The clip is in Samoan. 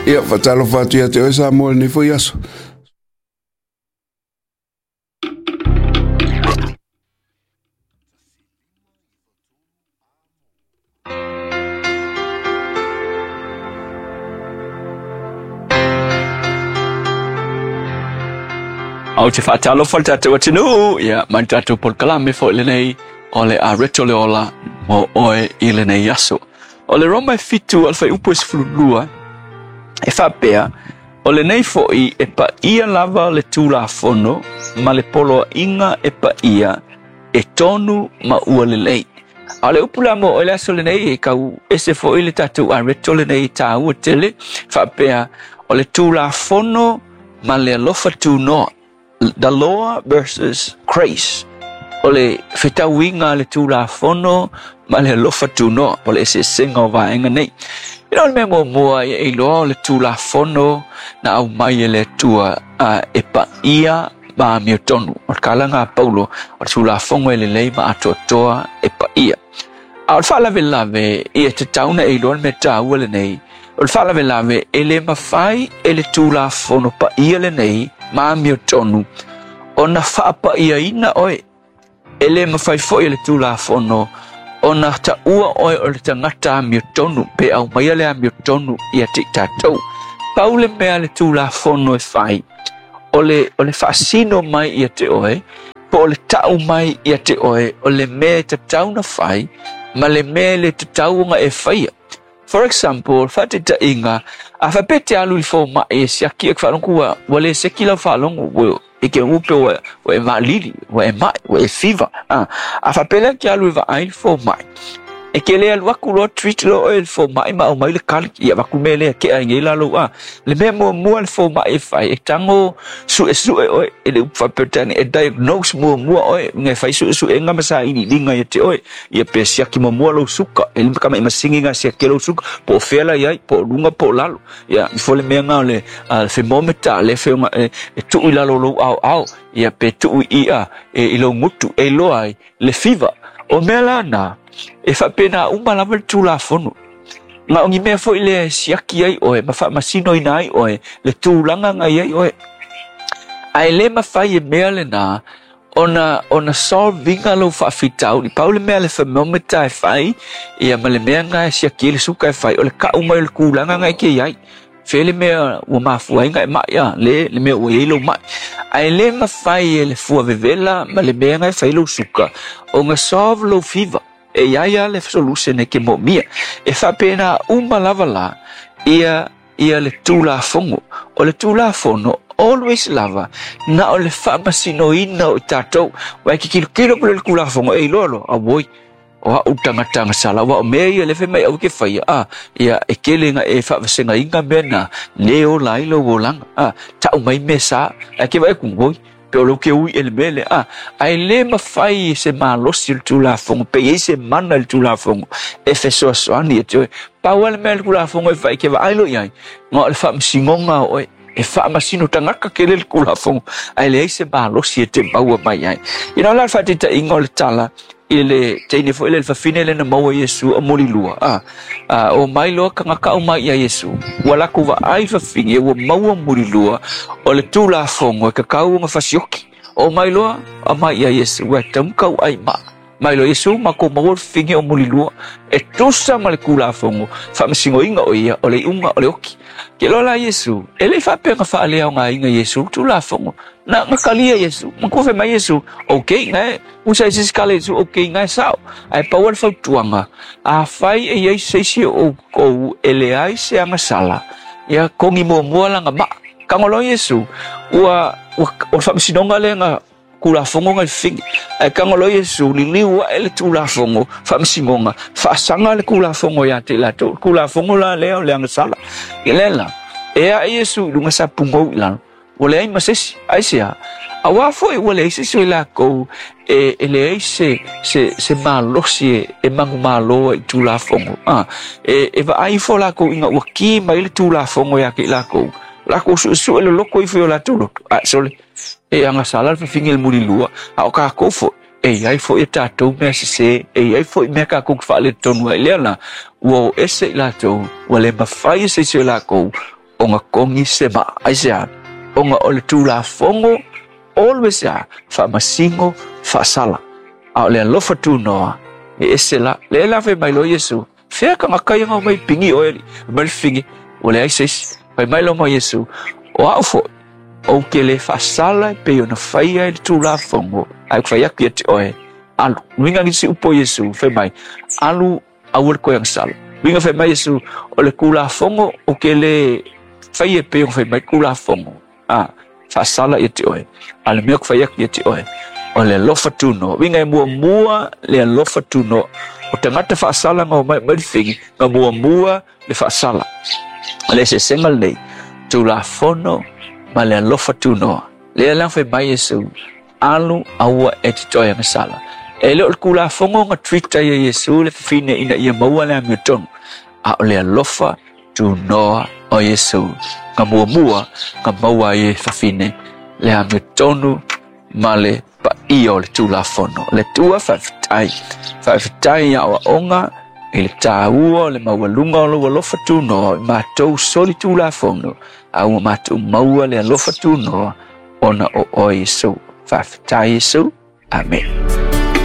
Ia, faatalofa atu ia te oe Samoa i lenei foi aso. Ou te faatalofa i le tatou atunuu, ia, ma le tatou polokalame foi lenei o le Areto le Ola mo oe i lenei aso. O le Roma e 7 o le fuaiupu e 12, e faapea, o lenei foi e paia lava le Tulafono ma le poloaiga e paia e tonu ma ua lelei. A o le upu la mo oe le aso lenei, e kau ese foi le tatou areto lenei e tāua tele, faapea, o le Tulafono ma le alofa tunoa, the law versus grace. O le fetauiga a le Tulafono ma le alofa tunoa, o le eseesega o vaega nei. Ina o le mea muamua ia e iloa o le Tulafono na aumai e le Atua e paia ma amiotonu. O le kalaga a Paulo, o le Tulafono e lelei ma atoatoa e paia. A o le faalavelave ia tatau na e iloa le mea taua lenei, o le faalavelave e le mafai e le Tulafono paia lenei ma amiotonu ona faapaiaina oe. E le mafai foi e le Tulafono ona taua oe o le tagata amiotonu pe aumaia le amiotonu ia te i tatou. Pau le mea le Tulafono e fai, o le faasino mai ia te oe, po o le tau mai ia te oe, o le mea e tatau na fai, ma le mea le tatau ona e faia. For example, faataitaiga, a faapea te alu i le fomai e siaki e ka faalogo ua le seki lau faalogo, ua e ke upe ua e maalili, ua e mai, ua e fiva. A faapea lea ke alu e vaai le fomai, e ke le alu aku loa treat loa oe le fomai ma aumai le kali, ia avatu mea lea kea i nei la lou a. Le mea muamua le fomai e fai, e tago suesue oe, e le upu faaperetani, e diagnose muamua oe, ngai fai suesuega ma sailiiliga ia te oe, ia pe siaki muamua lou suka, e lima kama i masini nga siaki lou suka, po o fea la iai, po o luga po o lalo. Ia, ifo le mea nga o le thermometer, le feonga e tuu i lalo lou ao ao, ia pe tuu i ia i lou gutu, e iloa ai le fiva. O mea la na, e faapena uma lava le Tulafono. Na o ni mea foi le siaki ai oe, ma faamasinoina ai oe, le tulaga na i ai oe. Ae le mafai e mea lena ona solve inga lou faafitauli. Pau le mea le thermometer e fai, ia ma le mea nga e siaki ai le suka e fai, o le kau mai o le tulaga na e ke iai. Fe le mea ua mafua ai nga e mai, a, le mea ua iai lou mai. Ae le mafai e le fua vevela ma le mea nga e fai lou suka, o nga solve lou fiva. E iai a le solution e ke moomia. E faapena uma lava la, ia le Tulafono. O le Tulafono, always lava, na o le faamasinoina o i tatou. Wa e kikilokilo pule le Tulafono, e iloa loa, auoi, o au tangatanga sala, wa o mea ia le fe mai au ke whaia, a, ia e kele nga e faavasegaina mea na, le o lai lo olanga, a, tau mai mea sa, a ke vai ku ngoi, pe o lo ke ui ele mele, a, ae le mafai se malosi o le Tulafono, pe iai se mana le Tulafono, e fesoasoani e te oe. Pau le mea le Tulafono e fai ke vaai lo iai, nga o le faamasigoga o oe, e faamasino tagata kele le Tulafono, ae leai se malosi e te maua mai ai. Ina o la le faataitaiga o le tala, i le teine foi le fafine le na maua Iesu o mulilua. A, o mai loa tagata o mai ia Iesu, ua lakou vaai fafine, ua maua mulilua, o le Tulafono e kakau ona fasioki. O mai loa, a mai ia Iesu, ua tamu kau ai ma. Mai loa Iesu, ma ko maua fafine o mulilua, e tusa ma le Tulafono, faamasinoina o ia, o le iuga o le oki. Ke loa la Iesu, e le faapea faaleaogaina Iesu le Tulafono. Na kalia Iesu, ma kufe mai Iesu, okay, ngai, usa i sisi kale Iesu, okay, ngai sao. Ae pau le fautuaga, a fai e iai se isi o oukou e leai se agasala, ia kogi muamua laga maa. Kago loa Iesu, ua o le faamasinoga lea na Tulafono ngai fafine. Ae kago loa Iesu, liliu ae le Tulafono, faamasinoga, faasaga le Tulafono ia te i latou. Tulafono la lea o le agasala. I lea la, e ae Iesu i luga sa pugou i lalo, ua leai ma se isi, ai se a. Auā foi ua leai se isi o i lakou e leai se malosi e manumalo ai i Tulafono. E vaai ifo lakou ina ua ki mai le Tulafono ia te i lakou. Lakou suesue le loko ifo i o latou loto. A, sole, e agasala le fafine le mulilua, a o kakou foi, e iai foi e tatou mea sese, e iai foi mea kakou ke faaletonu ai. Lea la, ua o ese i latou, ua le mafai e se isi o lakou, Ona kogi se maa. Aisea? Ona o le Tulafono always a faamasino faasala. A o le alofa tunoa e ese la. Le la fai mai lo Iesu. Fea ka ngaka ia ngau mai pingi oe li. Mai le fingi. Ua leai se isi. Fai mai lo ma Iesu. O au foʻi, ou te le faasala e pei ona faia e le Tulafono, ae ou te fai atu ia te oe, alu. Uiga nisi upu o Iesu, fai mai, alu aua le toe agasala. Uiga fai mai Iesu, o le Tulafono ou te le faia e pei ona fai mai le Tulafono, a, faasala ia te oe. A o le mea ou te fai atu ia te oe, o le alofa tunoa. Uiga e muamua le alofa tunoa. O tagata faasala na omai mai le figi, na muamua le faasala. O le eseesega lenei, Tulafono ma le alofa tunoa. Lea la fai mai Iesu, alu aua e te toe agasala. E le o le Tulafono na treat ai e Iesu le fafine ina ia maua le amiotonu, a o le alofa tunoa o Iesu na muamua na maua ai e fafine le amiotonu ma le paia o le Tulafono. Le Atua faafetai. Faafetai i aoaoga i le tāua o le maualuga o lou alofa tunoa i matou soli Tulafono, a ua matou maua le alofa tunoa ona o oe Iesu. Faafetai Iesu. Amene.